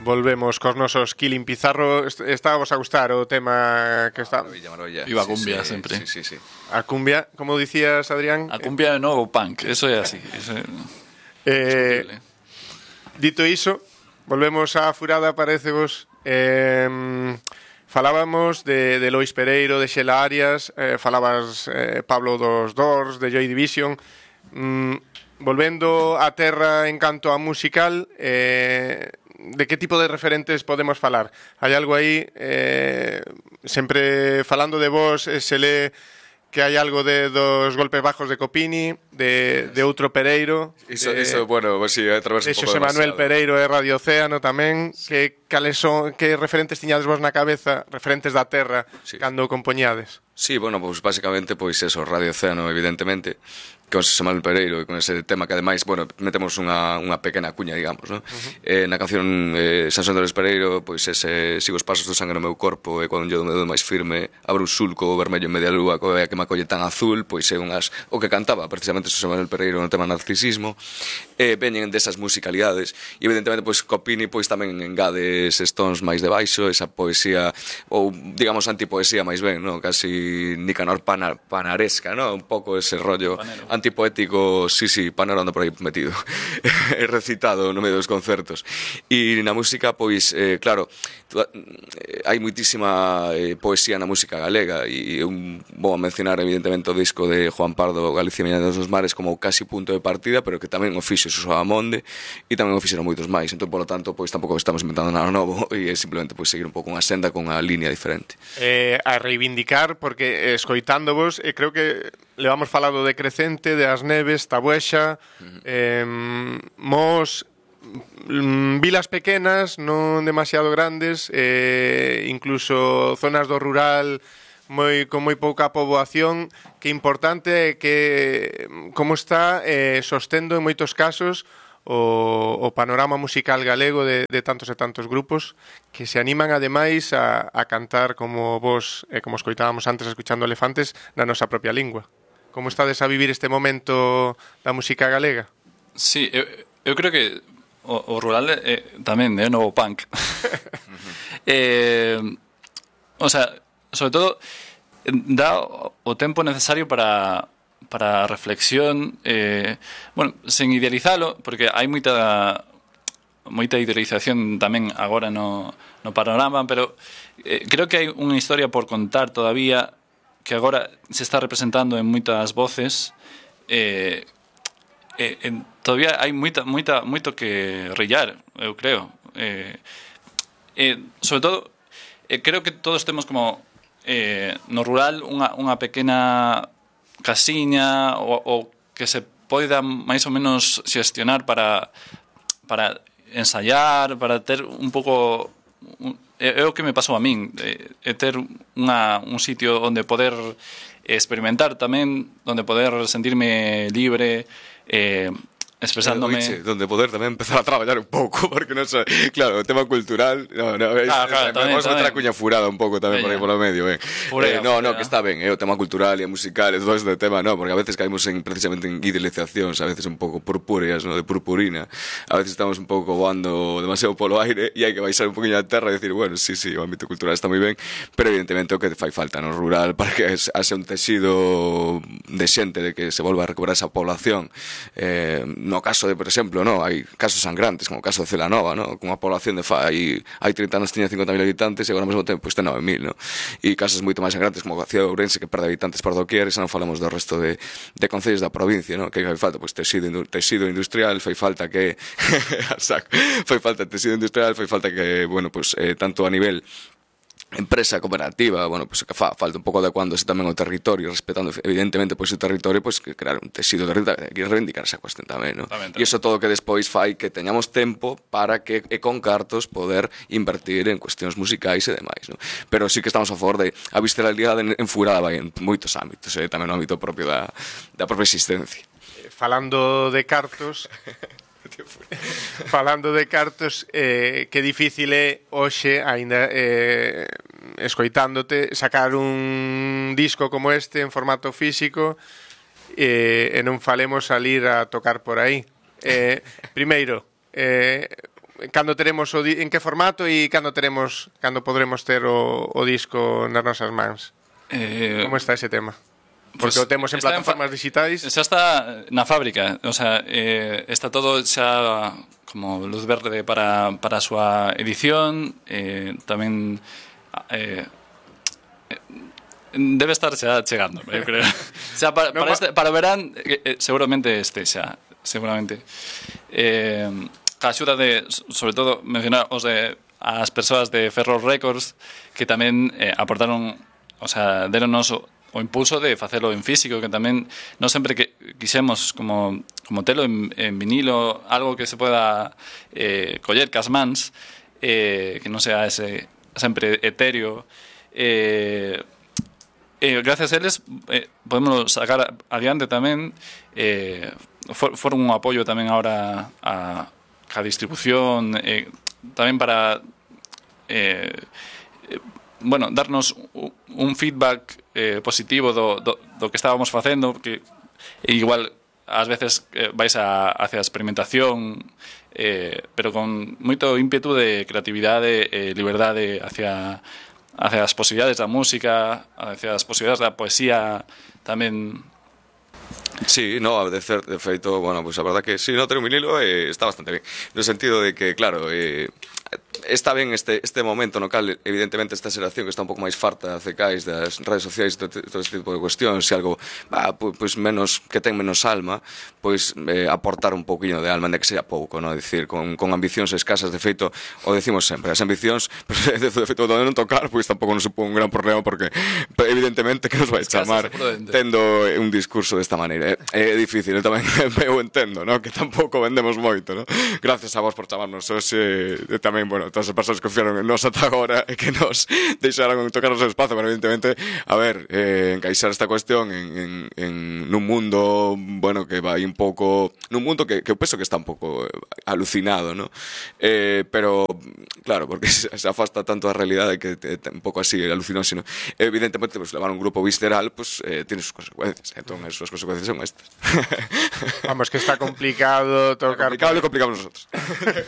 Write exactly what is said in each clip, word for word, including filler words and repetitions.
Volvemos cos nosos Killing Pizarro. Estábamos a gustar o tema que está... Maravilla, maravilla. Iba a cumbia sí, sí, sempre. Sí, sí, sí. A cumbia, como dicías, Adrián. A cumbia é novo punk, eso é así. Eso é eh, discutible. Dito iso, volvemos á furada, parece vos. Eh, falábamos de, de Lois Pereiro, de Xela Arias, eh, falabas eh, Pablo dos Doors, de Joy Division. Mm, volvendo á terra en canto a musical, eh, de que tipo de referentes podemos falar? Hai algo aí, eh, sempre falando de vos, eh, se lee que hai algo de dos golpes bajos de Copini, de, de outro Pereiro. Iso, de, iso, bueno, pues sí, através de un pouco Xosé Manuel demasiado. Pereiro e Radio Océano tamén. Sí. Que, cales son, que referentes tiñades vos na cabeza, referentes da terra, Sí. cando compoñades? Sí, bueno, pues básicamente, pois eso, Radio Océano, evidentemente, con Xosé Manuel Pereiro e con ese tema que ademais, bueno, metemos unha, unha pequena cuña, digamos, ¿no? Uh-huh. Eh, na canción eh, San Andrés Pereiro, pois ese sigo os pasos do sangue no meu corpo e cando yo me dou máis firme, abro un sulco vermello en media lúa, coa que me acolle tan azul, pois é unhas, o que cantaba precisamente Xosé Manuel Pereiro no tema narcisismo, eh, veñen desas musicalidades e evidentemente, pois Copini, pois tamén engade eses tons máis de baixo, esa poesía, ou digamos antipoesía máis ben, ¿no? Casi Nicanor pana, panaresca, ¿no? Un pouco ese rollo Panero. Antipoético, sí, sí, Panero anda por aí metido recitado no medio dos concertos. E na música, pois, eh, claro, tu, eh, hai muitísima eh, poesía na música galega e un, vou a mencionar evidentemente o disco de Juan Pardo, Galicia Miña dos Mares, como casi punto de partida, pero que tamén o fixo Xosé Amonde e tamén o fixeron moitos máis. Entón, polo tanto, pois tampouco estamos inventando nada novo e é simplemente pois seguir un pouco unha senda con unha línea diferente. Eh, a reivindicar, porque escoitándovos, eh, creo que levamos falado de Crecente, de As Neves, Tabuexa, uh-huh. eh, Mos, mm, vilas pequenas, non demasiado grandes, eh, incluso zonas do rural moi con moi pouca poboación, que importante é que como está eh, sostendo en moitos casos o, o panorama musical galego de, de tantos e tantos grupos que se animan ademais a, a cantar como vos, eh, como escoitábamos antes escuchando Elefantes, na nosa propia lingua. Como estades a vivir este momento da música galega? Sí, eu, eu creo que o, o rural é tamén é novo punk. eh, o sea, sobre todo dá o tempo necesario para para a reflexión, eh, bueno, sen idealizalo, porque hai moita moita idealización tamén agora no, no panorama, pero eh, creo que hai unha historia por contar todavía que agora se está representando en moitas voces. eh, eh, en, todavía hai moita, moita, moito que rillar, eu creo. Eh, eh, sobre todo, eh, creo que todos temos como eh, no rural unha, unha pequena casiña ou, ou que se poida máis ou menos xestionar para, para ensayar, para ter un pouco... Un, é o que me pasou a min, é, é ter unha, un sitio onde poder experimentar tamén, onde poder sentirme libre, eh, expresándome... Oiche, donde poder tamén empezar a traballar un pouco, porque non sei, claro, o tema cultural, no, no, es, claro, claro, es, tamén, vamos a meter a tamén. cuña furada un pouco tamén por aí polo medio, ben. Furea, eh, no, furea. no, que está ben, eh, o tema cultural e musical e todo este tema, no, porque a veces caímos en, precisamente en idealizacións, a veces un pouco purpúreas, no, de purpurina, a veces estamos un pouco voando demasiado polo aire e hai que baixar un poquinho a terra e decir, bueno, sí, sí, o ámbito cultural está moi ben, pero evidentemente o que fai falta no rural para que haxe un texido de xente, de que se volva a recuperar esa población. Eh, no caso de, por exemplo, no, hai casos sangrantes, como o caso de Celanova, no, con unha población de fai hai trinta anos tiña cincuenta mil habitantes e agora ao mesmo tempo pois ten nove mil, no? E casos moito máis sangrantes como a cidade de Ourense que perde habitantes por doquier, e xa non falamos do resto de, de concellos da provincia, no? Que fai falta pois tecido, tecido industrial, fai falta que fai falta tecido industrial, fai falta que, bueno, pois eh, tanto a nivel empresa cooperativa, bueno, pues que fa falta un pouco adecuándose tamén ao territorio, respetando evidentemente pois o territorio, pois que crear un tecido territorial, que reivindicar esa cuestión tamén, ¿no? E iso todo que despois fai que teñamos tempo para que e con cartos poder invertir en cuestións musicais e demais, ¿no? Pero sí que estamos a favor de a visceralidade enfurada vai en moitos ámbitos, eh, tamén no ámbito propio da, da propia existencia. Falando de cartos, falando de cartos, eh, que difícil é hoxe, aínda eh, escoitándote, sacar un disco como este en formato físico eh, e non falemos salir a tocar por aí. Eh, primeiro, eh, cando teremos o di- en que formato e cando teremos cando podremos ter o, o disco nas nosas mans. Eh, Como está ese tema? Porque pues, o temos en está en plataformas fa- digitais. Xa está na fábrica, o sea, eh, está todo xa como luz verde para, para a súa edición, eh, tamén eh, debe estar xa chegando, eu creo. Xa para, No, para, ma- este, para o verán eh, eh, seguramente este xa, seguramente. Eh, a axuda de, sobre todo, mencionar os de as persoas de Ferro Records que tamén eh, aportaron, o sea, deronnos o, o impulso de facelo en físico, que tamén non sempre que quixemos como, como telo en, en vinilo, algo que se poda eh, coller cas mans, eh, que non sea ese sempre etéreo, eh, Eh, gracias a eles eh, podemos sacar adiante tamén, eh, for, foron un apoio tamén ahora a, a distribución, eh, tamén para eh, eh, bueno, darnos un, un feedback eh, positivo do, do, do que estábamos facendo, que igual ás veces eh, vais a, hacia a experimentación, eh, pero con moito ímpetu de creatividade e eh, liberdade hacia hacia as posibilidades da música, hacia as posibilidades da poesía tamén. Sí, no, de, cer- de feito, bueno, pues a verdad que sí, no, ter un vinilo eh, está bastante ben. No sentido de que, claro, eh, está ben este, este momento no cal, evidentemente, esta xeración que está un pouco máis farta de cais das redes sociais e todo, todo este tipo de cuestións, se algo, bah, pues, pues menos, que ten menos alma, pois eh, aportar un pouquiño de alma, de que sea pouco, no? Dicir, con, con ambicións escasas, de feito, o decimos sempre, as ambicións, pues, de, de feito, donde non tocar, pois tampouco non supón un gran problema, porque evidentemente que nos vai chamar tendo un discurso desta maneira. É, é difícil, eu tamén eu entendo, ¿no? Que tampouco vendemos moito, ¿no? Gracias a vos por chamarnos hoxe, e tamén, bueno, todas as persoas que confiaron en nos ata agora e que nos deixaron tocar o seu espazo, pero evidentemente, a ver, eh, encaixar esta cuestión en, en, en nun mundo, bueno, que vai un pouco, nun mundo que, que eu penso que está un pouco alucinado, ¿no? Eh, pero, claro, porque se, se afasta tanto a realidade que é un pouco así, alucinóse, ¿no? Evidentemente, pues, levar un grupo visceral, pues, eh, tiene sus consecuencias, entón, as súas consecuencias son estas. Vamos, que está complicado tocar. Complicado lo complicamos nosotros.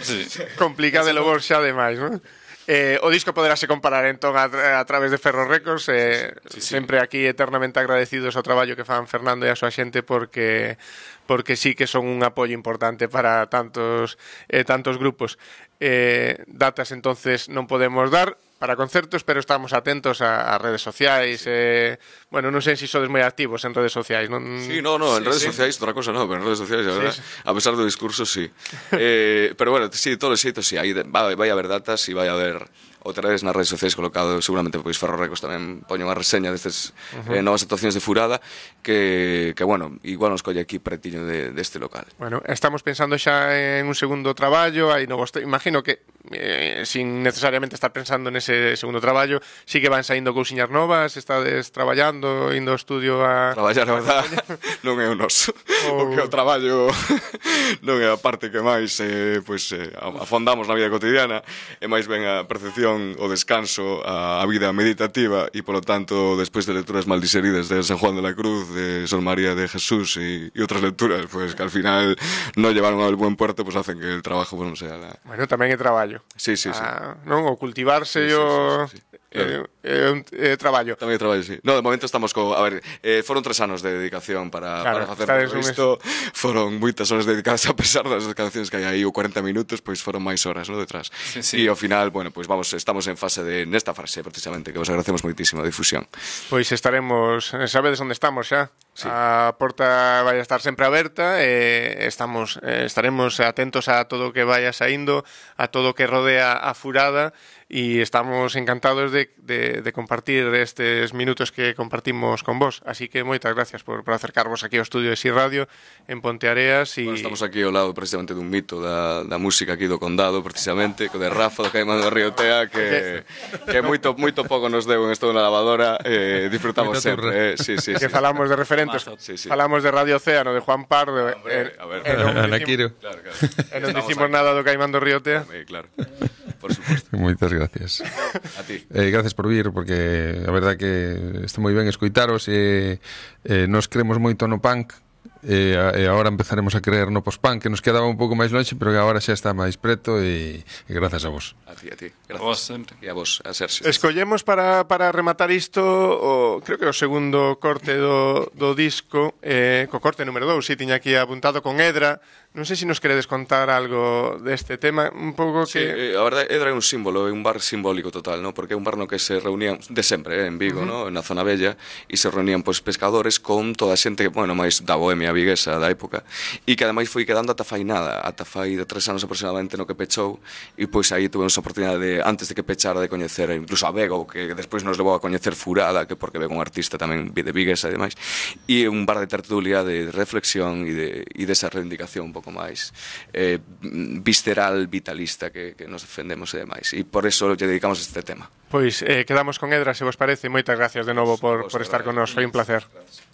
Sí. Complicado lo vos xa demais, non? Eh, o disco poderase comparar entón a, tra a través de Ferro Records, eh, sí, sí. Sempre aquí eternamente agradecidos ao traballo que fan Fernando e a súa xente, porque porque sí que son un apoio importante para tantos eh, tantos grupos. Eh, datas entonces non podemos dar para concertos, pero estamos atentos a, a redes sociais. Sí. Eh, bueno, non sei se sodes moi activos en redes sociais, non? Sí, no, no, en sí, redes sí. sociais, outra cosa non, pero en redes sociais, a, verdad, sí, sí. A pesar do discurso, sí. eh, pero bueno, sí, todos os xeitos, sí, aí vai, vai haber datas e vai haber outra vez nas redes sociais colocado, seguramente pois Ferro Records tamén poño unha reseña destes uh -huh. eh, novas actuacións de Furada que, que bueno, igual nos colle aquí pretiño de, deste local. Bueno, estamos pensando xa en un segundo traballo, aí novos, imagino que eh, sin necesariamente estar pensando nese segundo traballo, sí que van saindo cousiñas novas, estades traballando, indo ao estudio a... Traballar, a verdad, non é o noso. O... o que o traballo non é a parte que máis eh, pues, eh, afondamos na vida cotidiana, é máis ben a percepción, o descanso, a, a vida meditativa e, polo tanto, despois de lecturas mal diseridas de San Juan de la Cruz, de Sor María de Jesús e, e outras lecturas, pues que al final no llevaron al buen puerto, pues hacen que el trabajo pues, non sea la... Bueno, tamén é traballo. Sí, sí, sí. Ah, non? O cultivarse sí, sí, o... sí, sí, sí. Claro. É un eh, traballo. Tamén é traballo, sí. No, de momento estamos co... A ver, eh, foron tres anos de dedicación para, claro, para facer todo isto. Foron moitas horas dedicadas, a pesar das cancións que hai aí, ou cuarenta minutos, pois foron máis horas, ¿no? Detrás. Sí, sí. E ao final, bueno, pois vamos, estamos en fase de... Nesta fase, precisamente, que vos agradecemos moitísimo a difusión. Pois estaremos... Sabedes onde estamos xa? Sí. A porta vai a estar sempre aberta e estamos, eh, estaremos atentos a todo o que vaya saindo, a todo o que rodea a Furada, e estamos encantados de, de, de compartir estes minutos que compartimos con vos. Así que moitas gracias por, por acercarvos aquí ao estudio de Si Radio en Ponteareas. E... Bueno, estamos aquí ao lado precisamente dun mito da, da música aquí do Condado, precisamente, co de Rafa, do Caimán do Río Tea, que, que moito, moito pouco nos deu en esto na lavadora, eh, disfrutamos sempre. Eh, sí, sí, que sí. falamos de referentes, sí, sí. Falamos de Radio Océano, de Juan Pardo, Hombre, a ver, e non dicimos, claro, claro. E non dicimos nada do Caimán do Río Tea. Eh, claro, por suposto. Moitas gracias. A ti. Eh, gracias por vir, porque a verdad que está moi ben escoitaros e eh, nos creemos moito no punk, e, a, e agora empezaremos a creer no pospán, que nos quedaba un pouco máis longe, pero que agora xa está máis preto, e, e grazas a vos. A ti, a ti. A Gracias. vos sempre. E a vos, a Sergio. Escollemos para, para rematar isto o, creo que o segundo corte do, do disco, eh, co corte número dous, si tiña aquí apuntado con Edra. Non sei se nos queredes contar algo deste tema, un pouco Sí, que... eh, a verdade, Edra é un símbolo, é un bar simbólico total, ¿no? Porque é un bar no que se reunían de sempre, eh, en Vigo, uh-huh. ¿no? Na zona bella, e se reunían pois pescadores con toda a xente, bueno, máis da bohemia viguesa da época, e que ademais foi quedando ata fai nada, ata fai de tres anos aproximadamente no que pechou, e pois aí tuvemos a oportunidade de, antes de que pechara, de coñecer incluso a Bego, que despois nos levou a coñecer Furada, que porque Bego un artista tamén de viguesa e demais, e un bar de tertulia, de reflexión e de, e desa reivindicación un pouco máis eh, visceral, vitalista que, que nos defendemos e demais, e por eso lle dedicamos este tema. Pois eh, quedamos con Edra, se vos parece. Moitas gracias de novo por, por estar con nos, foi un placer. Gracias.